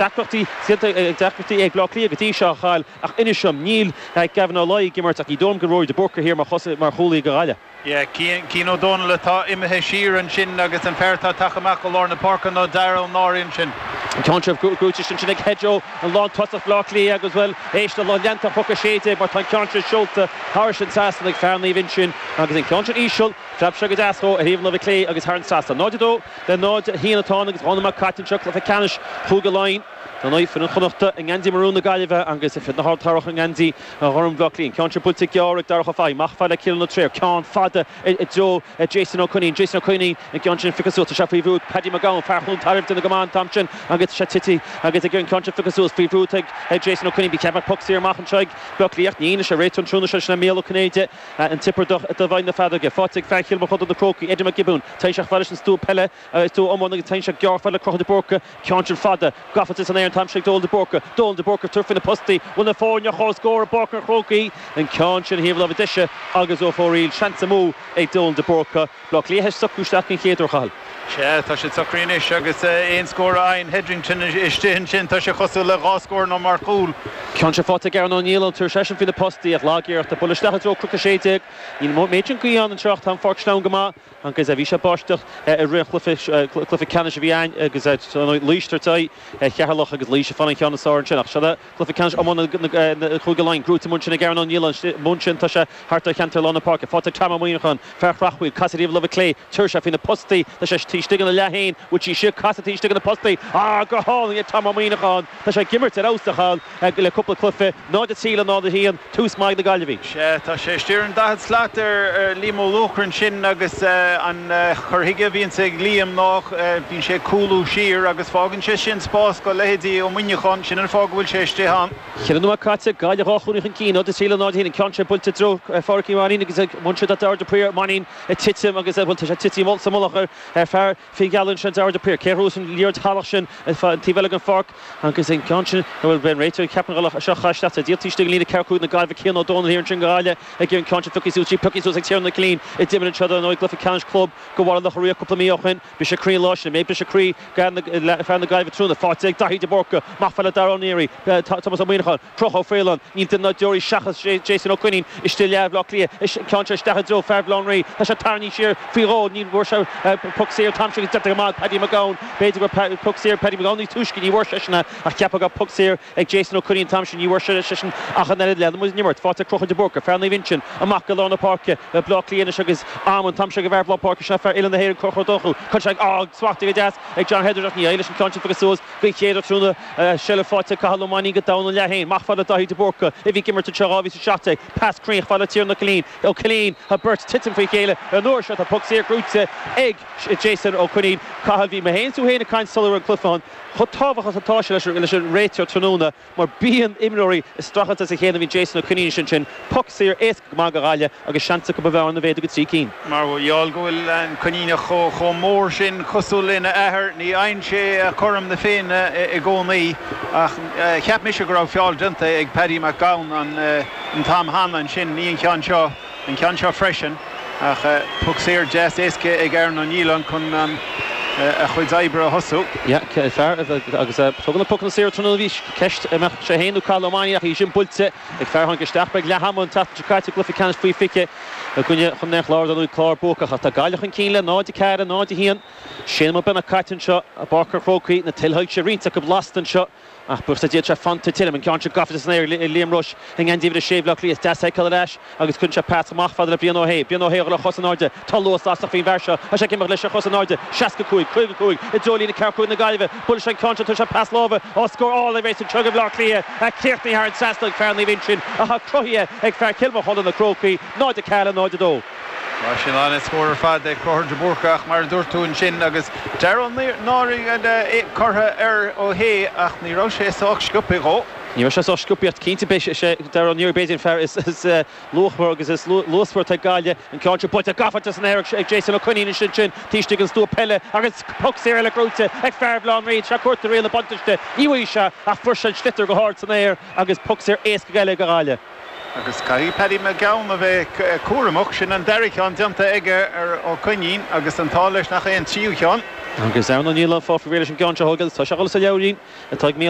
Deacrachtaí deacrachtaí ag Bleá Cliath go dtí seo a Chathail ach inis dom, níl Gavin Ó Laoi ag imirt ach ní dóigh liom go Rory de Búrca thiar mar mar chúlaí do Ghaillimh. Yeah, Cian Ó Dónaill atá imithe siar ansin agus an fear atá tagtha amach go lár na páirce ná Dara Ó Náraí ansin. An ceann seo gnóthaithe ansin ag Hedjo, an lántosach Bhleá Cliath agus bhuel, éist le lucht leanta Chnoc 16 mar tá an ceann seo seolta thairis an trasnán ag fear Naomh Uinseann agus an ceann sin íseal, phreab sé go deas dhó ar thaobh an láimhe clé agus thar an trasnán. 0-2. Le 0-1 atá ann agus 2 nóiméad caite anseo, cluiche ceannais Chúige Laighean. Dar ndóigh, foireann Chonnachta i ngeansaí marún na Gaillimhe agus foireann na hArdchathrach i ngeansaí ghorm Bhaile Átha Cliath. An ceann seo buailte gearr ag Darach Ó Fathaigh, amach fad le Cillian Ó Treabhair. Ceann fada i dtreo Jason Ó Coinín. Jason Ó Coinín, an ceann sin pioctha suas. Tá sé faoi bhrú ag Paddy McGowan, fear Chluain Tairbh, duine go maith an t-am sin agus tá sé tite agus ag an ceann sin pioctha suas faoi bhrú ag Jason Ó Coinín. Ba cheart go mbeadh poc saor amach anseo ag Bleá Cliath ach níl. Is é réiteoir an tráthnóna seo, sin é Mícheál Ó Cinnéide. An Tiobradach do Mhaigh na Feadóige. Faighte ag fear Chill Mochuda na Crócaigh, Eddie McGibbon. Téann sé fad leis an stua peile, stua iomána agus téann sé gearr fad le Conchúr de Búrca. Ceann sin fada, gafa san aer an t-am sin ag Dónal de Búrca. Dónal de Búrca ag tabhairt faoi na postaí. Bhfuil na foirne comhscór i bPáirc an Chrócaigh. An ceann sin ar thaobh láimhe deise agus ó fóraoil. Seans amú ag Dónal de Búrca. Bleá Cliath ag socrú isteach an chéad uair, a Chathail. Sea, tá siad socraithe anois agus aon scór a fhaigheann Headington istigh ansin, tá sé cosúil le dhá scór nó mar chúl. Ceann seo faighte ag Aaron O'Neill, an tabharfaidh seisean faoi na postaí ach lag-iarracht ag bualadh isteach i dtreo Cnoc 16. Níl an méid sin gaoth ann anseo ach tá an pháirc sleamhain go maith agus bhí sé ag báisteach i rith an chluiche, cluiche ceannais a bhí againn agus Laois ag tabhairt aghaidh ar Cheatharlach agus Laois ag fáil an cheann is fearr ansin ach seo Cluiche ceannais iomána Chúige Laighean gnóthaithe amuigh ansin ag Aaron O'Neill amuigh ansin tá sé thart ar cheantar lár na páirce. Faighte ag Tom Ó Muíneacháin, fear Chreachmhaoil, casadh ar thaobh láimhe clé, tabharfaidh sé faoi na postaí, tá sé taobh istigh ina leath féin, bhfuil sí istigh, casadh taobh istigh de na postaí, ah go hálainn ag Tom Ó Muíneacháin, tá sé ag imirt ar fheabhas a Chathail le cúpla cluiche, 0-3 le 0-1, tús maith ag na Gaillimhigh. Sea, tá sé istigh ar an 40 slat ar Liam Ó Luachra ansin agus an cur chuige a bhíonns ag Liam ná bíonn sé ag cúlú siar agus fágann sé sin spás do leithéidí Ó Muineacháin, sin an fáth go bhfuil sé istigh ann. Cheithre nóiméad caite, Gaillimh dhá chúilín chun cinn, 0-3 le 0-1, an ceann seo buailte i dtreo Phádraic Uí Mhainín agus bhain sé de Dara de Paor, Mainín ag titim agus bhuel tá sé tite sa mullach ar fear Fínghealla ansin, Dara de Paor. Cé a ghnóthós an liathróid shalach sin an taobh eile den pháirc agus an ceann sin, bhuel b'é an réiteoir a cheapann go seo chaith isteach sa díol taobh istigh den líne ceathracha cúig na Gaillimhe Cian Ó Dónaill thiar ansin do Ghaillimh ag iarraidh an ceann sin pioctha suas, sí pioctha suas ag Tiarnan Ó Cillín a d'imir anseo dar ndóigh i gcluiche ceannais club do Bhaile Locha Riach cúpla mí ó shin. Briseadh croí an lá sin, an mbeidh briseadh croí ag fear na Gaillimhe tráthnóna. Faighte ag Daithí de Búrca, amach fad le Dara Ó Neary, Tomás Ó Muíneacháin, Conchúr Ó Faoláin, níl duine ná deoraí seachas Jason Ó Coinín istigh i leath Bhaile Átha Cliath, an ceann seo isteach i dtreo fear Bhaile Átha an Rí, tá sé tarraingthe siar faoi dhó, ní bhfuair sé poc saor an t-am sin agus déanta go maith ag Paddy McGowan, b'fhéidir go raibh poc saor ag Paddy McGowan níos túisce, ní bhfuair seisean é ach cheapfá go raibh poc saor ag Jason Ó Coinín an t-am sin, ní bhfuair seisean ach an oiread leanann muid an imirt, faighte ag Conchúr de Búrca, fear Naomh Uinseann, amach go lár na páirce le Baile Átha Cliath anois agus am an t-am seo ag an bhfear lár páirce seo, fear Oileán na hÉireann Conchúr Ó Donnchú, chun sé á smachtaithe go deas ag John Heatherton ach ní éirigh leis an ceann sin piocadh suas den chéad uair tráthnóna, seilbh faighte ag Cathal Ó Mainnín go domhan an leath féin, amach fad le Daithí de Búrca a bhí ag imirt anseo 2017, pas cruinn fad le Tiarnan Ó Cillín, Ó Cillín, tá beirt titim faoi chéile an uair seo, tá poc saor gnóthaithe ag Jason Ó Coinín, Cathal, bhí mé féin is tú féin ag caint sula raibh an cluiche ann. Chomh tábhachtach is atá sé leis an réiteoir tráthnóna mar bíonn imreoirí ag streachailt as a chéile, bhí Jason Ó Coinín ansin, poc saor éasca go maith do Ghaillimh agus seans acu an bhearna a mhéadú go 3 cinn. Mar gheall go bhfuil an Coinníneach chomh mór sin cosúil lena athair, ní fhaigheann sé cothrom na Féinne i gcónaí ach cheap mise go raibh feall déanta ag Paddy McGowan an t-am cheana ansin, ní an ceann seo. An ceann seo freisin, ach poc saor deas éasca ag Aaron O'Neill ann chun a chuid oibre a thosú. Yeah, fear agus tugann na pocanna saora tráthnóna bhí ceist an mbeadh sé féin nó Cathal Ó Mainnín ach í sin buailte ag fear a tháinig isteach ag leath ama an tseachtain seo caite i gcluiche ceannais faoi 20 i gcoinne Chontae an Chláir dar ndóigh clár buacach ach tá Gaillimh chun cinn le 0-4, 0-1. Sé nóiméad beagnach caite anseo i bPáirc an Chrócaigh, na tuilsoilse roinnt acu lasta anseo. Ach buíochas le Dia tá sé fanta tirim, an ceann seo gafa san aer ag Liam Rushe i ngeansaí uimhir a sé Bhaile Átha Cliath. Is deas é a fheiceáil ar ais agus cuireann sé pas amach fada le Brian Ó hAodha. Brian Ó hAodha le chos in airde. Tá luas lasrach faoin bhfear seo. Tá sé ag imeacht leis ar chos in airde. 65, 55, i dtreo líne ceathracha cúig na Gaillimhe. Buaileann sé an ceann seo, tabharfaidh sé pas láimhe. Á, scór álainn arís anseo ag Baile Átha Cliath. Críochnaithe thar an trasnán ag fear Naomh Uinseann atá cruthaithe ag fear Chill Mochuda na Crócaigh. 0-4 le 0-2. Tá sin an-scór ar fad ag Conchúr de Búrca ach mar a dúirt tú ansin agus Dara Ó Náraí curtha ar Ó hAodha ach ní raibh sé sách sciobtha dhó. Ní raibh sé sách sciobtha ach cinnte beidh sé Dara Ó Náraí b'fhéidir an fear is luachmhar agus is luasmhar atá ag Gaillimh. An ceann seo buailte gafa san aer ag Jason Ó Coinín ansin sin taobh istigh den stua peile agus poc saor eile gnóthaithe ag fear Bhaile Átha an Rí. Tá sé ag cuartú riail na buntáiste. Ní bhfaighidh sé ach fuair sé an sliotar go hard san aer agus poc saor éasca eile do Ghaillimh. Agus caithfidh Paddy McGowan a bheith cúramach, sin an dara ceann déanta aige ar Ó Coinín agus an t-ádh leis nach é an tríú ceann. Agus ar ndóigh níl an fáth faoi réir leis an gceann seo a thógáil, tá sé ag dul sa leabhairín atá ag Mícheál Ó.